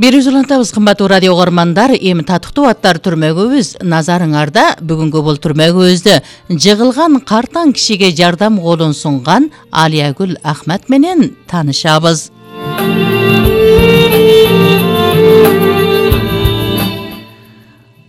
Бир улантабыз кымбаттуу радио угармандар, эми татыктуу аттар түрмөгүбүз назарыңарда. Бүгүнкү бул түрмөгүбүздө жыгылган картаң кишиге жардам колун сунган Алиягүл Ахмат менен таанышабыз.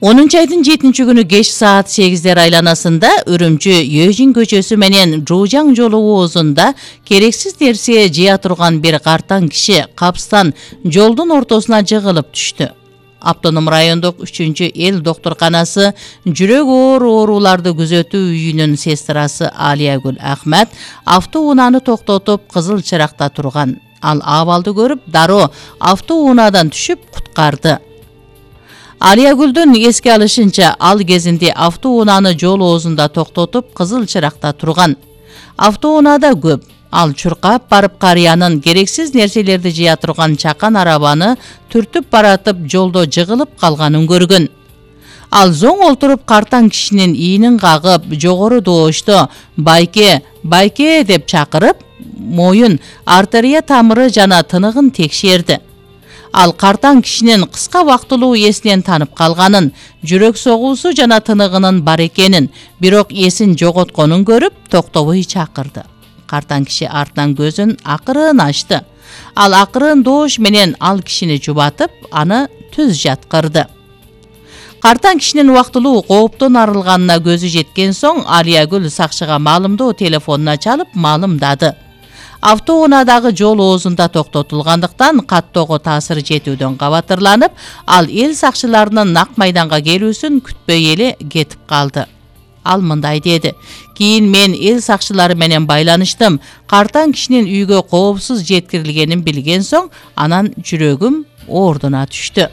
10 айдын 7 күнү кеч саат 8 айланасында Үрүмчү Өжүн көчөсү менен Жуужаң жолу оозунда керексиз нерсе жыя турган бир картаң киши капстан жолдун ортосуна жыгылып түштү. Автоном райондук 3-эл доктурканасы жүрөк ооруларды күзөтүү үйүнүн сестрасы Алиягүл Ахмат автоунааны токтотуп кызыл чыракта турган. Ал абалды көрүп, дароо автоунаадан түшүп куткарды. Алиягүлдүн эске алышынча, ал кезинде автоунааны жол оозунда токтотуп кызыл чыракта турган. Автоунаада көп. Ал чуркап барып карыянын керексиз нерселерди жыя турган чакан арабаны түртүп баратып жолдо жыгылып калганын көргөн. Ал зоң олтуруп картаң кишинин ийинин кагып, жогору доошто «Байке, байке» деп чакырып, моюн, артерия тамыры жана тыныгын текшерди. Ал картаң кишинин кыска убактылуу эсинен танып калганын, жүрөк согуусу жана тыныгынын бар экенин, бирок эсин жоготконун көрүп, токтобой чакырды. Картаң киши артынан көзүн акырын ачты. Ал акырын доош менен ал кишини жубатып, аны түз жаткырды. Картаң кишинин убактылуу кооптон арылганына көзү жеткен соң, Алиягүл сакчыга маалымдоо телефонуна чалып маалымдады. Автоунаадагы жол оозунда токтотулгандыктан каттоого таасир жетүүдөн кабатырланып, ал эл сакчыларынын нак майданга келүүсүн күтпөй эле кетип калды. Ал мындай деди: «Кийин мен эл сакчылары менен байланыштым. Картаң кишинин үйгө коопсуз жеткирилгенин билген соң, анан жүрөгүм ордуна түштү».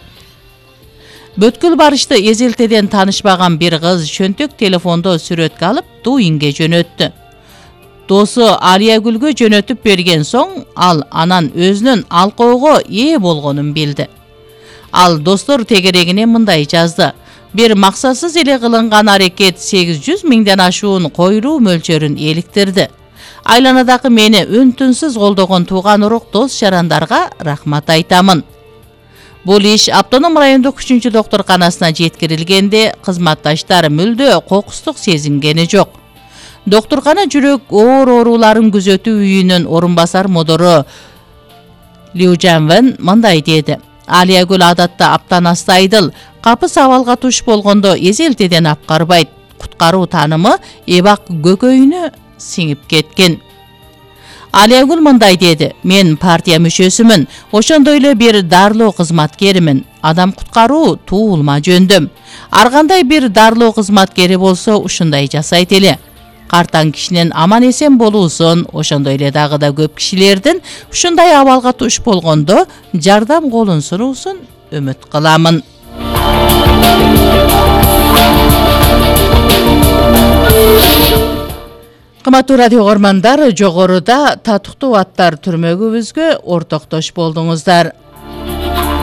Бүткүл барышты эзелтеден таанышпаган бир кыз чөнтөк телефондо сүрөткө алып Дуинге жөнөттү. Досу Алиягүлгө жөнөтүп берген соң, ал анан өзүнүн алкоого ээ болгонун билди. Ал достор тегерегине мындай жазды: «Бир максатсыз эле кылынган аракет 800 миңден ашуун коюлуу мөлчөрүн эликтирди. Айланадагы мени үн-түнсүз колдогон тууган урук дос жарандарга рахмат айтамын». Бул иш автоном райондук 3 доктурканасына жеткирилгенде, кызматташтар мүлдө кокустук сезингени жок. Доктуркана жүрөк ооруларын күзөтүү үйүнүн орун басар модору Лиужанвен мындай деди: «Алиягүл адатта аптан астайдыл, капыс абалга туш болгондо эзелтеден апкарбайт. Куткаруу таанымы эбак көкөйүнө сиңип кеткен». Алиягүл мындай деди: «Мен партия мүчөсүмүн, ошондой эле бир дарылоо кызматкеримин. Адам куткаруу туулма жөндөм. Ар кандай бир дарылоо кызматкери болсо ушундай жасайт эле. Картаң кишинин аман эсен болуусун, ошондой эле дагы да көп кишилердин ушундай абалга туш болгондо жардам колун сунуусун үмүт кыламын». Кымбаттуу радио угармандар, жогоруда татыктуу аттар түрмөгүбүзгө ортоктош болдуңуздар.